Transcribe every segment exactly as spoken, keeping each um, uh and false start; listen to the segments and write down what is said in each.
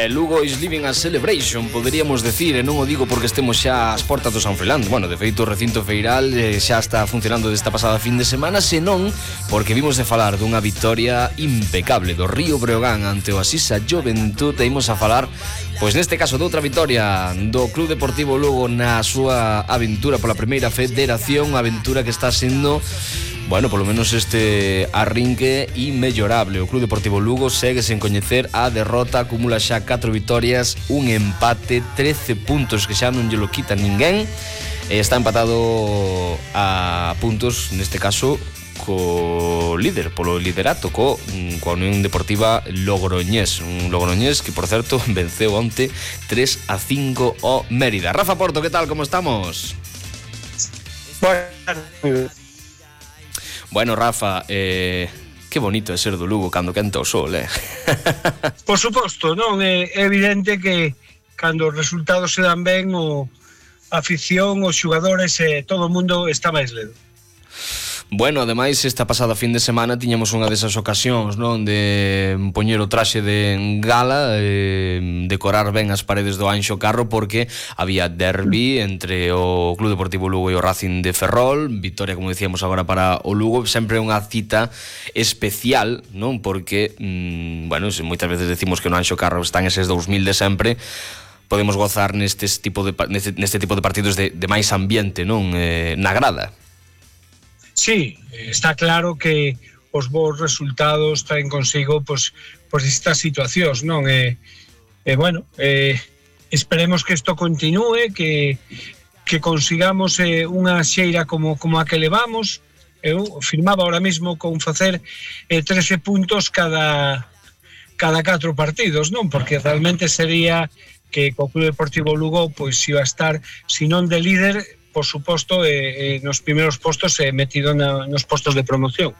E Lugo is living a celebration, poderíamos decir, e non o digo porque estemos xa ás portas do San Froilán. Bueno, de feito o recinto feiral eh, xa está funcionando desta pasada fin de semana, senón porque vimos de falar dunha vitoria impecable do Río Breogán ante o Asisa Juventud. E imos a falar, pois neste caso, de outra vitoria do Club Deportivo Lugo na súa aventura pola primeira federación, aventura que está sendo, bueno, polo menos este arrinque inmellorable. O Club Deportivo Lugo segue sen coñecer a derrota, acumula xa catro vitorias, un empate, trece puntos que xa non lle lo quita ninguén, e está empatado a puntos, neste caso, co líder, polo liderato, co, coa Unión Deportiva Logroñés. Un Logroñés que, por certo, venceu onte tres a cinco o Mérida. Rafa Porto, que tal, como estamos? Bueno, Bueno, Rafa, eh, que bonito é ser do Lugo cando quenta o sol, eh? por suposto, non? É evidente que cando os resultados se dan ben, o a afición, os xogadores e eh, todo o mundo está máis ledo. Bueno, ademais, esta pasada fin de semana tiñamos unha desas ocasións, non, de poñer o traxe de gala, eh, decorar ben as paredes do Anxo Carro, porque había derbi entre o Club Deportivo Lugo e o Racing de Ferrol. Victoria, como decíamos agora, para o Lugo. Sempre unha cita especial, non, porque, mmm, bueno, moitas veces decimos que no Anxo Carro están eses dous mil de sempre. Podemos gozar neste tipo de, neste, neste tipo de partidos de, de máis ambiente, non, eh, na grada. Sí, está claro que os bons resultados traen consigo pois, pois estas situacións, non? E, e bueno, eh, esperemos que isto continúe, que, que consigamos eh, unha xeira como, como a que levamos. Eu firmaba ahora mismo con facer eh, trece puntos cada, cada catro partidos, non? Porque realmente sería que o Club Deportivo Lugo pois iba a estar, se non de líder, por suposto, eh, eh, nos primeiros postos eh, metido na, nos postos de promoción.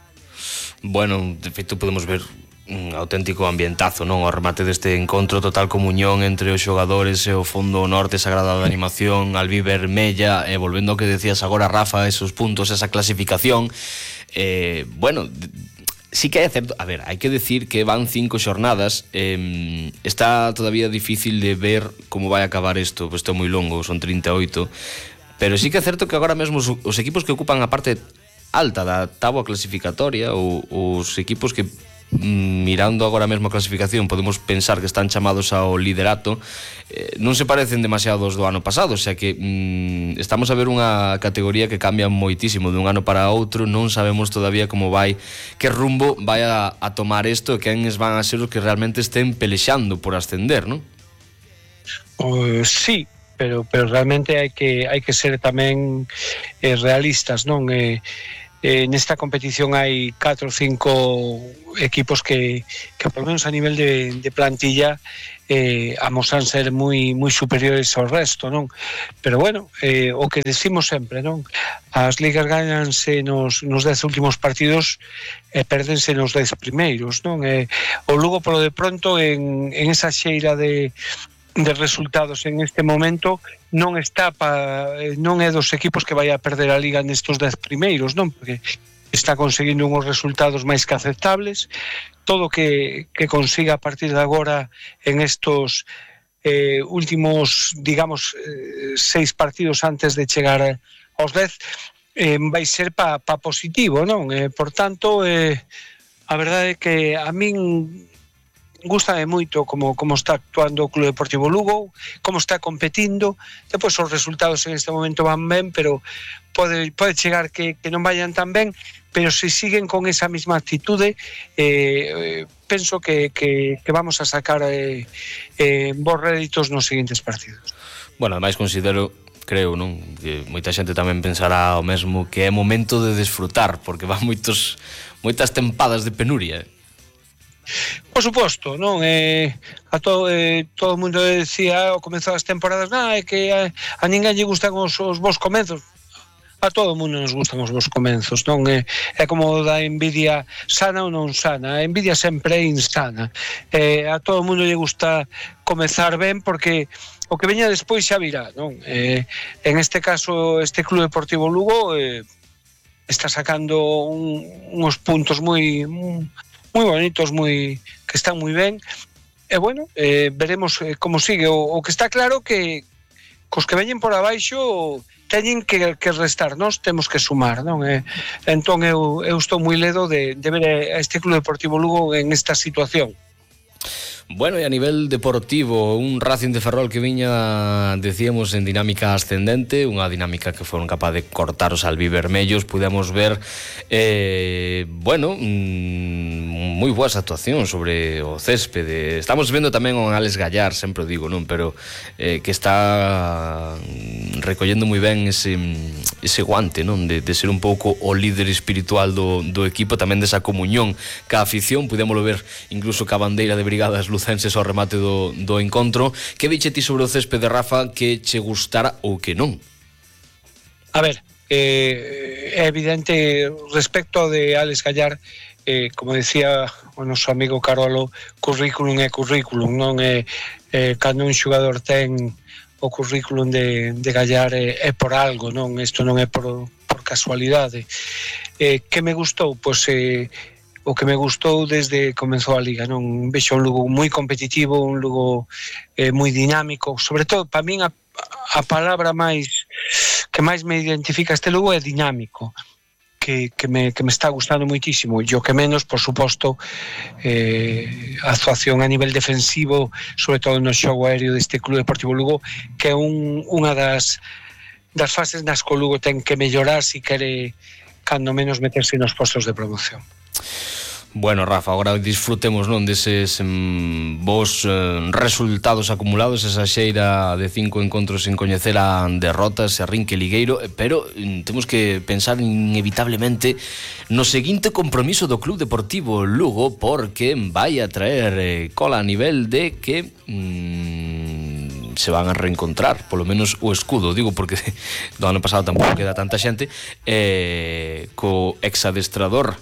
Bueno, de feito podemos ver un auténtico ambientazo, non? O remate deste encontro, total comunión entre os xogadores e o fondo norte sagrado da animación, albivermella, e volvendo ao que decías agora, Rafa, esos puntos, esa clasificación, eh, bueno, sí que é certo, a ver, hai que decir que van cinco xornadas, eh, está todavía difícil de ver como vai acabar isto, pois isto é moi longo, son trinta e oito. Pero sí que é certo que agora mesmo os, os equipos que ocupan a parte alta da táboa clasificatoria, ou os equipos que, mirando agora mesmo a clasificación, podemos pensar que están chamados ao liderato, eh, non se parecen demasiado aos do ano pasado, o sea que mm, estamos a ver unha categoría que cambia moitísimo de un ano para outro. Non sabemos todavía como vai, que rumbo vai a, a tomar isto, e quenes van a ser os que realmente estén pelexando por ascender, non? Uh, sí, pero pero realmente hai que hai que ser tamén eh, realistas, non? Eh, eh, nesta competición hai catro ou cinco equipos que que por menos a nivel de, de plantilla eh, amosan ser moi moi superiores ao resto, non? Pero bueno, eh, o que decimos sempre, non? As ligas gananse nos nos dez últimos partidos e eh, perdense nos dez primeiros, non? Eh, o Lugo, polo de pronto, en en esa xeira de de resultados en este momento non está pa, non é dos equipos que vai a perder a liga nestes dez primeiros, non? Porque está conseguindo uns resultados máis que aceptables. Todo que, que consiga a partir de agora en estos eh, últimos, digamos, eh, seis partidos antes de chegar aos dez, eh, vai ser pa, pa positivo, non? Eh, por tanto, eh, a verdade é que a min gústame moito como, como está actuando o Club Deportivo Lugo, como está competindo. Depois os resultados en este momento van ben, pero pode, pode chegar que, que non vayan tan ben, pero se siguen con esa mesma actitude, eh, eh, penso que, que, que vamos a sacar eh, eh, bons réditos nos seguintes partidos. Bueno, ademais considero, creo, non, que moita xente tamén pensará o mesmo, que é momento de desfrutar, porque van moitos moitas tempadas de penuria. Por suposto, non? Eh, a to, eh, todo o mundo decía ao comezar as temporadas, nah, é que a, a ninguén lle gustan os, os bons comenzos. A todo o mundo nos gustan os bons comenzos, non? É, é como da envidia sana ou non sana. A envidia sempre é insana. Eh, a todo o mundo lle gusta comezar ben, porque o que veña despois xa virá, non? Eh, en este caso, este Club Deportivo Lugo eh, está sacando un, unos puntos moi... moi bonitos, moi que están moi ben, e bueno, eh, veremos eh, como sigue. O, o que está claro que cos que veñen por abaixo teñen que, que restar, nós temos que sumar, non? E, entón eu, eu estou moi ledo de, de ver a este Club Deportivo Lugo en esta situación. Bueno, e a nivel deportivo, un Racing de Ferrol que viña, decíamos, en dinámica ascendente, unha dinámica que foron capaz de cortar os albivermellos. Pudemos ver, eh, bueno, mmm, moi boas actuacións sobre o céspede. Estamos vendo tamén o Alex Gallar, sempre o digo, non? Pero eh, que está recollendo moi ben ese, ese guante, non? De, de ser un pouco o líder espiritual do, do equipo, tamén desa comunión ca afición. Pudémoslo ver incluso ca bandeira de brigadas lucenses ao remate do, do encontro. Que viche ti sobre o céspede, Rafa, que che gustara ou que non? A ver, eh, é evidente respecto de Alex Gallar, eh, como decía o noso amigo Carolo, currículum é currículum, non é, eh, cando un xogador ten o currículum de, de Gallar é, é por algo, non? Isto non é por, por casualidade. Eh, que me gustou? Pois eh, o que me gustou desde comenzou a Liga, non? Vexo un Lugo moi competitivo, un Lugo eh, moi dinámico, sobre todo, para min a, a palabra máis que máis me identifica este Lugo é dinámico, que, que, me, que me está gustando moitísimo, e o que menos, por suposto, eh, a actuación a nivel defensivo, sobre todo no xogo aéreo deste Club Deportivo Lugo, que é un, unha das, das fases nas que o Lugo ten que mellorar se quere, cando menos, meterse nos postos de promoción. Bueno, Rafa, agora disfrutemos, non, deses mm, vos eh, resultados acumulados, esa xeira de cinco encontros sin coñecer a derrotas, a rinque ligueiro, pero mm, temos que pensar inevitablemente no seguinte compromiso do Club Deportivo Lugo, porque vai a traer eh, cola a nivel de que mm, se van a reencontrar, polo menos o escudo, digo, porque do ano pasado tampouco queda tanta xente, eh, co exadestrador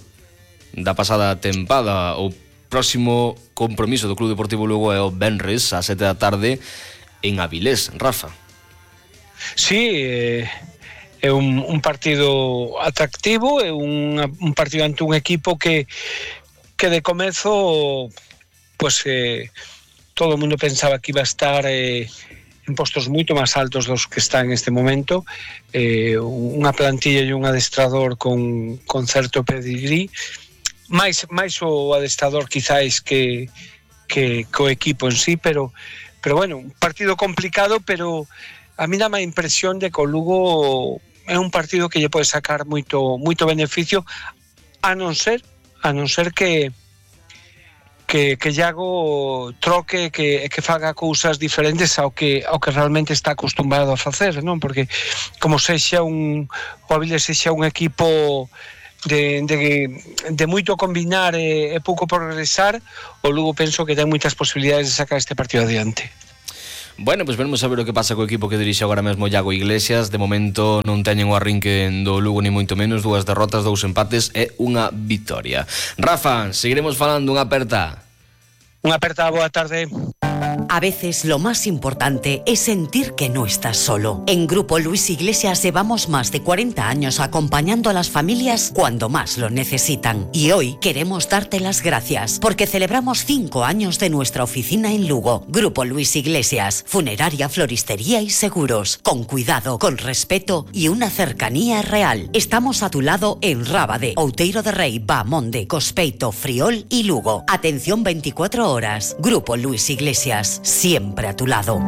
da pasada tempada. O próximo compromiso do Club Deportivo Lugo é o venres a sete da tarde en Avilés, Rafa. Sí, eh, é un, un partido atractivo, é un, un partido ante un equipo que que de comezo pues eh, todo o mundo pensaba que iba a estar eh, en postos moito máis altos dos que está en este momento, eh, unha plantilla e un adestrador con, con certo pedigrí, máis, máis o adestrador quizáis que, que, que o equipo en sí, pero, pero bueno, un partido complicado, pero a mí dá má impresión de que o Lugo é un partido que lle pode sacar moito, moito beneficio, a non ser, a non ser que que, que Iago troque, que, que faga cousas diferentes ao que, ao que realmente está acostumbrado a facer, non? Porque como sexa un, o Avilés sexa un equipo De, de, de moito combinar e, e pouco progresar, o Lugo penso que ten moitas posibilidades de sacar este partido adiante. Bueno, pois pues veremos a ver o que pasa co equipo que dirixe agora mesmo Iago Iglesias. De momento non teñen o arrinque do Lugo ni moito menos, dúas derrotas, dous empates e unha vitoria. Rafa, seguiremos falando, unha aperta. Unha aperta, boa tarde. A veces lo más importante es sentir que no estás solo. En Grupo Luis Iglesias llevamos más de cuarenta años acompañando a las familias cuando más lo necesitan. Y hoy queremos darte las gracias porque celebramos cinco años de nuestra oficina en Lugo. Grupo Luis Iglesias, funeraria, floristería y seguros. Con cuidado, con respeto y una cercanía real. Estamos a tu lado en Rábade, Outeiro de Rei, Bamonde, Cospeito, Friol y Lugo. Atención veinticuatro horas. Grupo Luis Iglesias, siempre a tu lado.